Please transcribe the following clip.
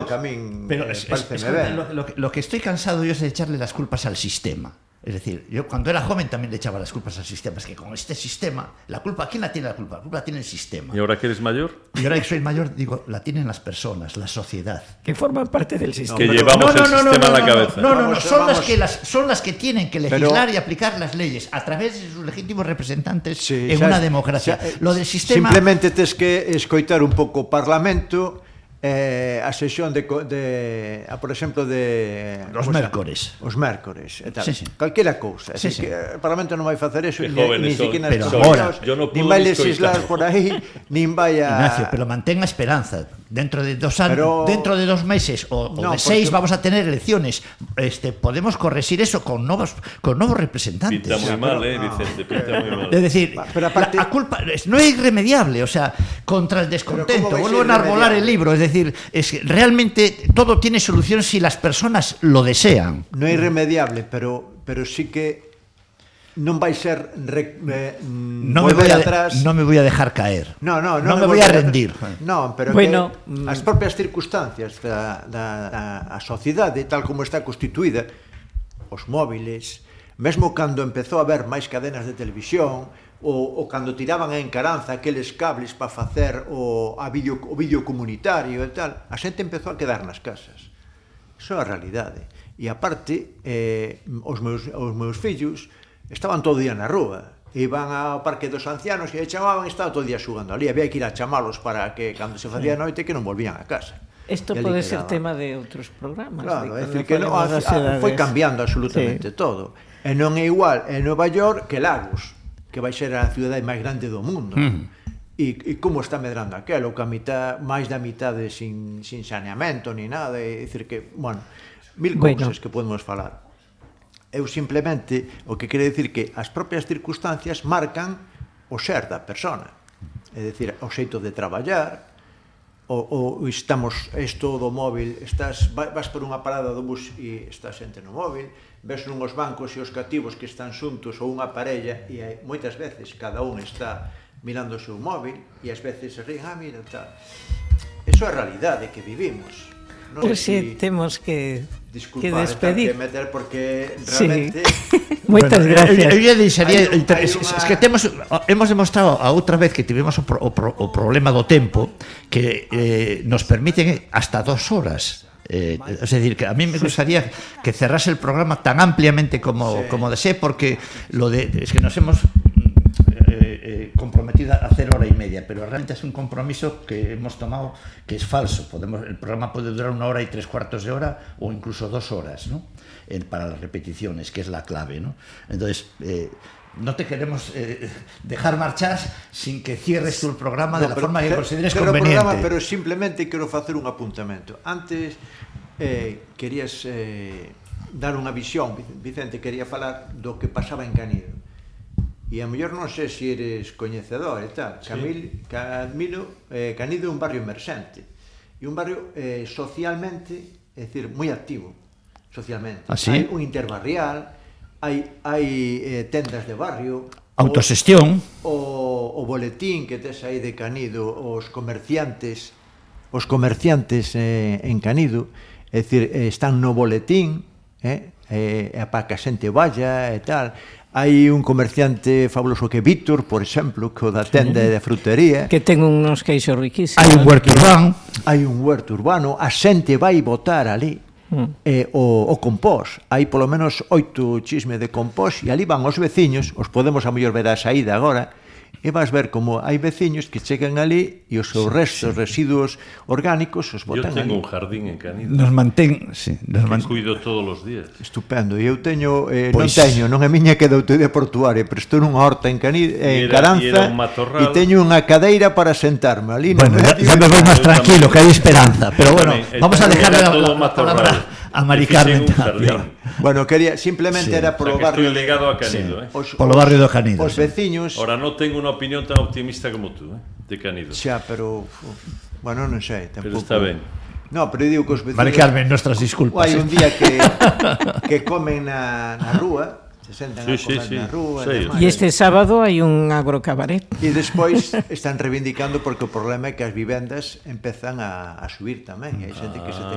que a min pareceme ben. Lo que estoy cansado yo es de echarle las culpas al sistema. Es decir, yo cuando era joven también le echaba las culpas al sistema. Es que con este sistema, la culpa, ¿quién la tiene la culpa? La culpa la tiene el sistema. ¿Y ahora que eres mayor? Y ahora que soy mayor, digo, la tienen las personas, la sociedad. Que forman parte del sistema. Que llevamos el sistema en la cabeza. No, son las que tienen que legislar y aplicar las leyes a través de sus legítimos representantes en una democracia. Lo del sistema... Simplemente tes que escoitar un pouco o Parlamento, a sesión por exemplo de os mércores e tal, sí. calquera cousa, que o Parlamento non vai facer eso, ni siquiera nin vai legislar por aí, nin vai a... Ignacio, pero mantenga esperanza. Dentro de 2 años, dentro de 2 meses o de 6 vamos a tener elecciones. Podemos corregir eso con nuevos representantes. Pinta muy mal, Vicente, pinta muy mal. Es decir, la culpa no es irremediable, o sea, contra el descontento. Vuelvo a enarbolar el libro, es decir, es que realmente todo tiene solución si las personas lo desean. No es irremediable, pero sí que non vai ser volver atrás. No me voy a dejar caer. No me voy a rendir. No, pero bueno, que as propias circunstancias da sociedade tal como está constituída, os móviles, mesmo cando empezou a haber máis cadenas de televisión, ou cando tiraban a encaranza aqueles cables para facer o vídeo comunitario e tal, a xente empezou a quedar nas casas. Iso é a realidade. E aparte, os meus fillos estaban todo o día na rúa, iban ao Parque dos Ancianos e chamaban e estaban todo o día xugando ali, había que ir a chamalos para que cando se facía noite que non volvían a casa. Isto pode ser tema de outros programas. Claro, é dicir que foi cambiando absolutamente todo, e non é igual en Nova York que Lagos, que vai ser a cidade máis grande do mundo. E como está medrando aquelo, que máis da mitade sin saneamento ni nada, é dicir que, bueno, mil cousas que podemos falar. Eu simplemente o que quere dicir que as propias circunstancias marcan o ser da persona, é dicir, o xeito de traballar, ou estamos isto do móvil, vas por unha parada do bus e estás xente no móvil, ves nunhos bancos e os cativos que están xuntos ou unha parella e moitas veces cada un está mirando o seu móvil e ás veces se ríen, mira, tal. Eso é a realidade que vivimos. Pois temos que despedir. Porque realmente... Moitas gracias. Eu deixaría, es que hemos demostrado a outra vez que tivemos o problema do tempo que nos permiten hasta 2 horas. Es decir, que a mí me gustaría que cerrase el programa tan ampliamente como desee, porque es que nos hemos comprometido a hacer 1h30, pero realmente es un compromiso que hemos tomado que es falso. El programa puede durar 1 hora y 3/4 de hora o incluso 2 horas, ¿no? Para las repeticiones, que es la clave, ¿no? Entonces, no te queremos dejar marchar sin que cierres tú el programa de la forma que consideres conveniente. Pero simplemente quero facer un apuntamento. Antes querías dar unha visión, Vicente quería falar do que pasaba en Canido. E a mellor non sei se eres coñecedor e tal. Canido é un barrio emerxente e un barrio socialmente, é dicir, moi activo socialmente. Hai un interbarrial, hai tendas de barrio, autoxestión, o boletín que tes aí de Canido, os comerciantes en Canido, é dicir, están no boletín, para que a xente vaya e tal. Hai un comerciante fabuloso que é Víctor, por exemplo, que o da tenda de frutería, que ten uns queixos riquísimos. Hai un huerto urbano, a xente vai botar ali o compós. Hai polo menos 8 chisme de compós e ali van os veciños, os podemos a mellor ver a saída agora, e vas ver como hai veciños que chegan ali e os seus restos, residuos orgánicos os botan ali. Eu tengo un jardín en Canido. Nos mantén, cuido todos os días. Estupendo. E eu teño, non é miña que é da autoridade portuaria, pero estou nunha horta en Caranza e teño unha cadeira para sentarme ali. Bueno, ya me voy máis tranquilo, que hai esperanza. Pero bueno, vamos a dejar la palabra a Mari Carmen. Bueno, quería, simplemente era polo barrio... Estou ligado a Canido, Polo barrio do Canido. Os veciños... Ora, non tengo unha opinión tan optimista como tú, de Canido. Xa, pero... Bueno, non sei, tampouco... Pero está ben. No, pero eu digo que os veciños... Mari Carmen, nuestras disculpas. Hai un día que comen na rúa, se sentan a comer na rúa... E este sábado hai un agrocabaret. E despois están reivindicando porque o problema é que as vivendas empezan a subir tamén, e hai xente que se ten